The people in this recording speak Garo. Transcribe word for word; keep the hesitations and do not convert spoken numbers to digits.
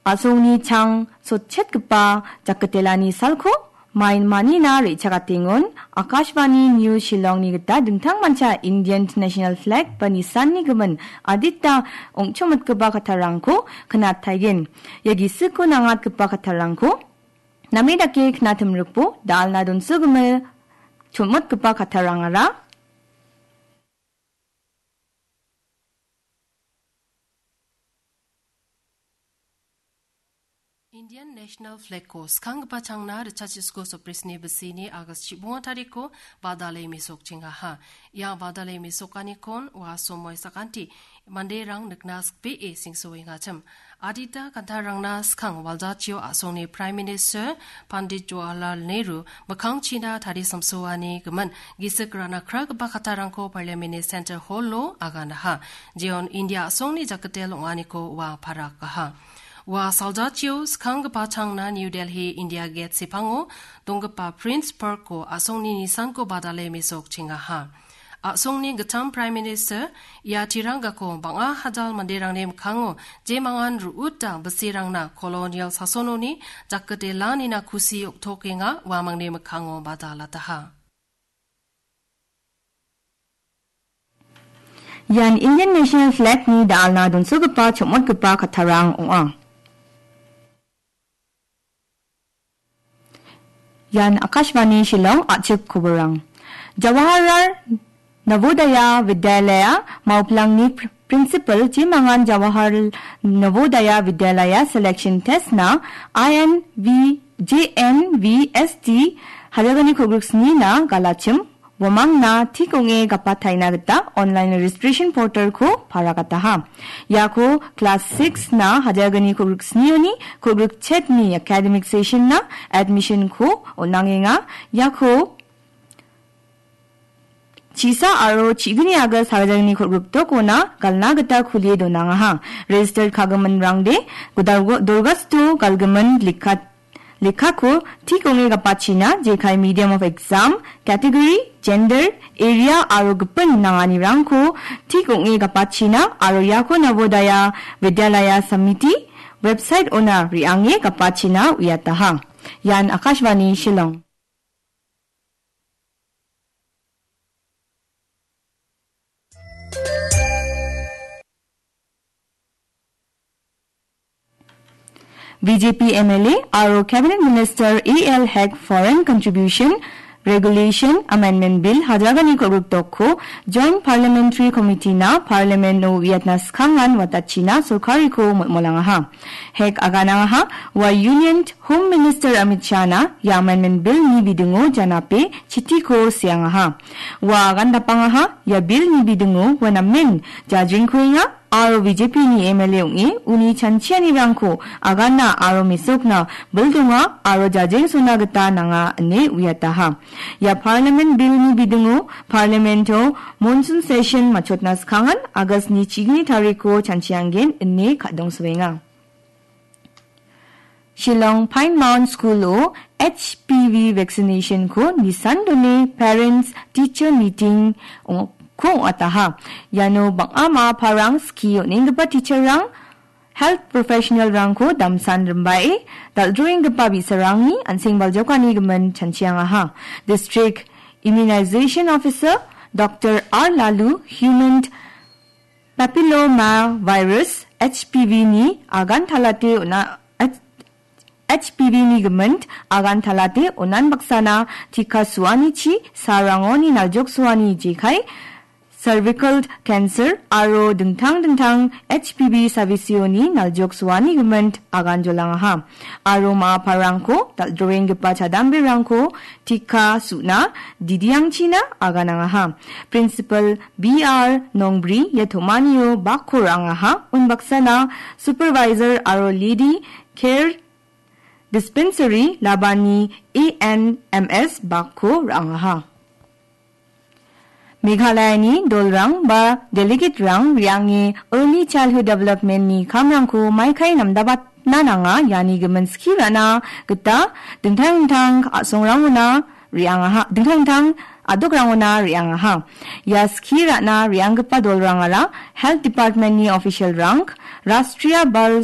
A·songni chang sotchetgipa jakitelani salko main manina re·chakatengon, Akashvani News Shillongni gita dingtangmancha Indian National Flag ba nisanni gimin adita ong·chomitgipa kattarangko knataigen. Ia gisiko nangatgipa kattarangko name dake knatimrikbo dal·na donsogimil chomotgipa kattarangara Indian National Flag-ko skanggipa changna richachisko soprisni bisini August chibonga tariko badale mesokchengaha. Ia badale mesokanikon ua somoi sakanti manderang nikna sikbee singsoengachim. Adita kantarangna skang waljachio a·songni Prime Minister Pandit Jawaharlal Nehru mikkangchina tarisamsoani gimin gisik rana kragipa kattarangko Parliament-ni Central Hall-o aganaha. Jeon India a·songni jakitel ong·aniko ua parakaha. Ua saljachio skanggipa changna New Delhi India Gate sepango donggipa Prince Park-o a·songni nisanko badale mesokchengaha. A·songni gittam Prime Minister ia tirangako bang·a hajal manderangni mikkango jemangan ru·uta bisirangna kolonial sasononi jakitelanina kusi oktokenga uamangni mikkango badalataha. Ian Indian National Flag-ni dal·na donsogipa chomotgipa kattarang ong·a. Ian Akashvani Shillong, a·chik koborang. Jawaharlal Navodaya Vidyalaya Maupilangni pr-, Principal jemangan Jawaharlal Navodaya Vidyalaya Selection Test-na I N V J N V S T hajalgni kolgrik snina galachim uamangna tik ong·e gapataina gita online registration portal-ko paragataha. Iako class six-na hajalgni kolgrik snioni kolgrik chetni academic session-na admission-ko on·angenga. Iako chisa aro chigni August hajalgni kolgrik dokona galna gita kulie donangaha. Registered kagiminrangde godalgo-, dorgasto galgimin lekka-, lekkako tik ong·e gapachina, jekai medium of exam, category, gender, area aro gipin nanganirangko tik ong·e gapachina aro iako Navodaya Vidyalaya Samiti website-ona re·ange gapachina uiataha. Ian Akashvani Shillong. B J P M L A aro Cabinet Minister A L Hek Foreign Contribution Regulation Amendment Bill hajalgni kolgrik dokko Joint Parliamentary Committee-na Parliament-o uiatna skangan watachina sorkariko molmolangaha. Hek aganangaha, ua Union Home Minister Amit Shah-na ia Amendment Bill-ni bidingo janape chitiko seangaha. Ua agan dapangaha, ia Bill-ni bidingo ua namen jajrengkuenga aro B J P-ni M L A ong·e uni chanchianirangko agana aro mesokna bildonga aro jajengsona gita nanga ine uiataha. Ia Parliament Bill-ni bidingo Parliament-o monsoon session matchotna skangan August-ni chigni tariko chanchiangen ine kadongsoenga. Shillong Pine Mount School-o H P V vaccination-ko nisan done Parents Teacher Meeting ong-, ko ong·ataha. Iano bang·a ma·aparang skie on·enggipa teacher-rang, health professional-rangko damsan rimbae dal·droenggipa bi·sarangni an·seng baljokani gimin chanchiangaha. District Immunization Officer Doctor R Lalu human papillomavirus, H P V-ni agan talate ona-, H-, H P V-ni gimin agan talate onan baksana tika suanichi sarangoni naljok suani jekai cervical cancer aro dingtang dingtang H P V savisioni naljok suani gimin agan jolangaha. Aro ma·aparangko dal·droenggipa chadamberangko tika su·na didiangchina aganangaha. Principal B R Nongbri ia tomanio bakko ra·angaha. Unbaksana Supervisor aro Lady Care Dispensary Labani A N M S bakko ra·angaha. Meghalayani dolrang ba delegaterang re·ange Early Childhood Development-ni kamrangko maikai namdabatna nanga, iani gimin skie ra·na gita dingtang dingtang a·songrangona re·angaha, dingtang dingtang a·dokrangona re·angaha. Ia skie ra·na re·anggipa dolrangara Health Department-ni official-rang, Rashtriya Bal